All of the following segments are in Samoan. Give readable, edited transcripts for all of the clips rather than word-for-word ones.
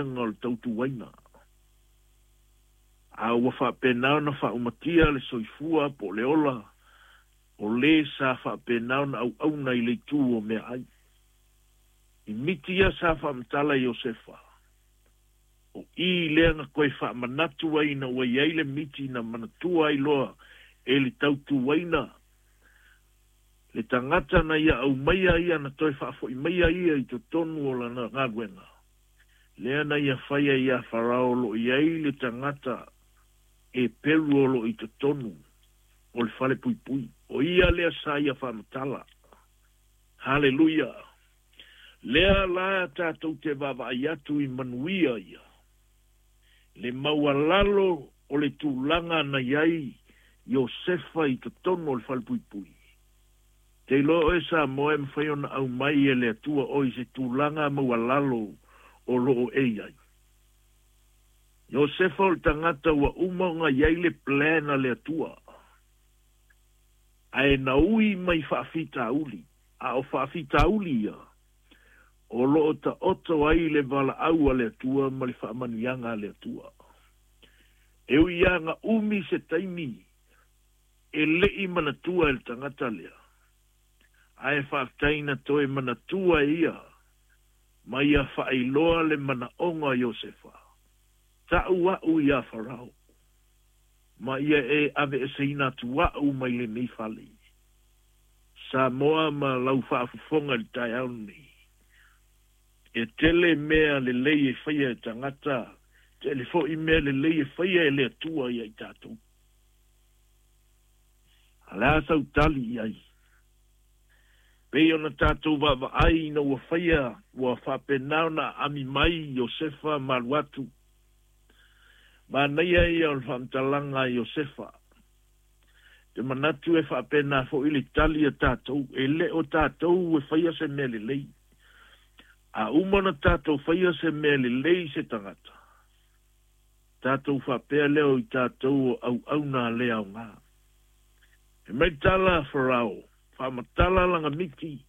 O le tautuaina. A ua faapena ona faaumatia le soifua po o le ola o le sa faapena ona auauna i le itu o meaai. I miti ia sa faamatala e Iosefa, o i lea na toe faamanatu ai ina ua i ai le miti na manatua ai loa e le tautuaina le tagata na ia aumaia ia na toe faafoi maia ia i totonu o lana galuega. Lea na ia faia ia Farao o lo o i ai le tagata Eperu o lo o i totonu o le falepuipui. O ia lea sa ia faamatala. Haleluia! Lea la tatou te vaavaai atu i manuia ia. Le maualalo o le tulaga na i ai Iosefa i totonu o le falepuipui. Te iloa oe Samoa e mafai ona aumai e le Atua oe i se tulaga maualalo o lo o e i ai. Iosefa o le tagata ua uma ona i ai le plan a le Atua. Ae na ui mai faafitauli, a o faafitauli ia, o lo o taoto ai le valaau a le Atua ma le faamanuiaga a le Atua. E ui lava na umi se taimi e le i manatua e le tagata lea, ae faafetai na toe manatua e ia ma ia faailoa le manaoga o Iosefa, Tau a'u iā Farao, ma ia e aveeseina atu a'u mai lenei fale. Samoa ma lau faafofoga i le taeao lenei, e tele mea lelei e faia e tagata, tele foi mea lelei e faia e le Atua ia i tatou. A o le a sau tali i ai? Pei ona tatou vaavaai ina ua faia, ua faapena ona aami mai Iosefa ma alu atu. Manaia ia o le faamatalaga a Iosefa. Ou te manatu e faapena foi le tali a tatou, e le o tatou e faia se mea lelei. A uma ona tatou faia se mea lelei i se tagata, tatou faapea lea o i tatou o auauna le aoga. Fai mai le tala a Farao, Faamatala lana miti.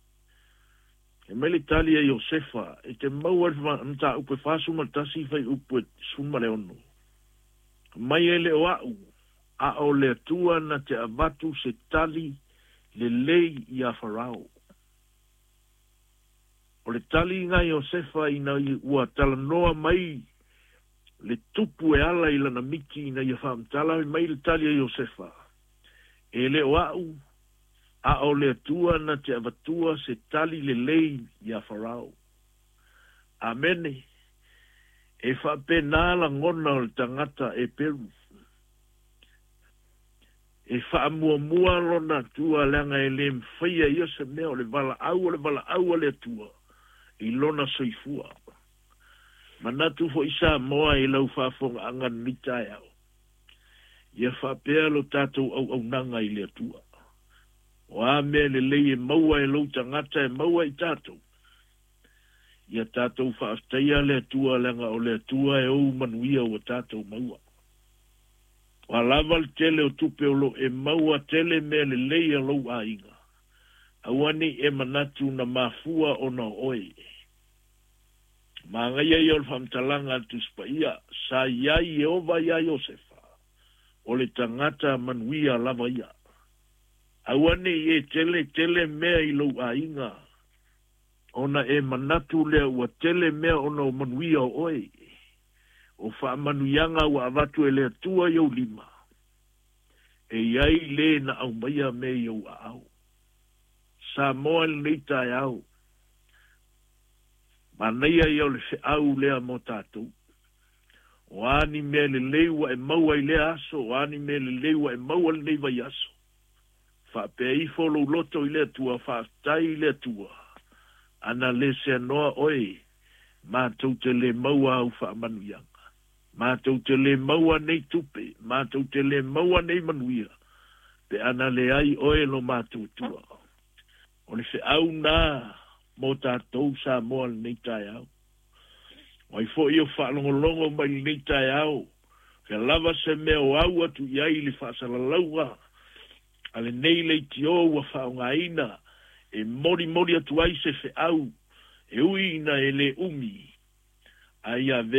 Fai mai le tali a Iosefa, E te maua i le mataupu e 41 fuaiupu e 16. Fai mai e le o a'u, a o le Atua na te avatu se tali lelei iā Farao. O le tali na Iosefa ina ua talanoa mai le tupu e ala i lana miti ina ia faamatala mai le tali a Iosefa, E le o a'u, a o le Atua na te avatua se tali lelei iā Farao. Amene. E faapena lagona o le tagata Eperu. E faamuamua lona Atua leaga e le mafaia e ia se mea o le valaau o le valaau a le Atua i lona soifua. Manatu foi Samoa i lau faafogaaga i lenei taeao, ia faapea lo tatou auaunaga i le Atua. O a mea lelei e maua e lou tagata e maua e i tatou, ia tatou faafetaia le Atua leaga o le Atua e ou manuia ua tatou maua. O a lava le tele o tupe o lo e maua tele mea lelei a lou aiga, aua ne i e manatu na mafua ona o oe. Manaia ia o le faamatalaga a le Tusi Paia, Sa i ai Ieova iā Iosefa, o le tagata manuia lava ia. Aua ne i e tele tele mea i lou aiga, ona e manatu lea ua tele mea ona o manuia o oe. O faamanuiaga ua avatu e le Atua i ou lima, e i ai le na aumaia mea i ou aao. Samoa i lenei taeao, manaia ia o le feau lea mo tatou. O a ni mea lelei ua e maua i lea aso, o a ni mea lelei ua e maua lenei vaiaso, faapea ifo lou loto i le Atua, faafetai i le Atua, ana le seanoa oe, matou te le maua au faamanuiaga. Matou te le maua nei tupe, matou te le maua nei manuia, pe ana leai oe lo matou Atua. O le feau na mo tatou Samoa lenei taeao. O ai foi o faalogologo mai lenei taeao, fea lava se mea o au atu i ai le faasalalauga a lenei leitio ua faaaogaina e molimoli atu ai se feau e ui ina e le umi, a ia avea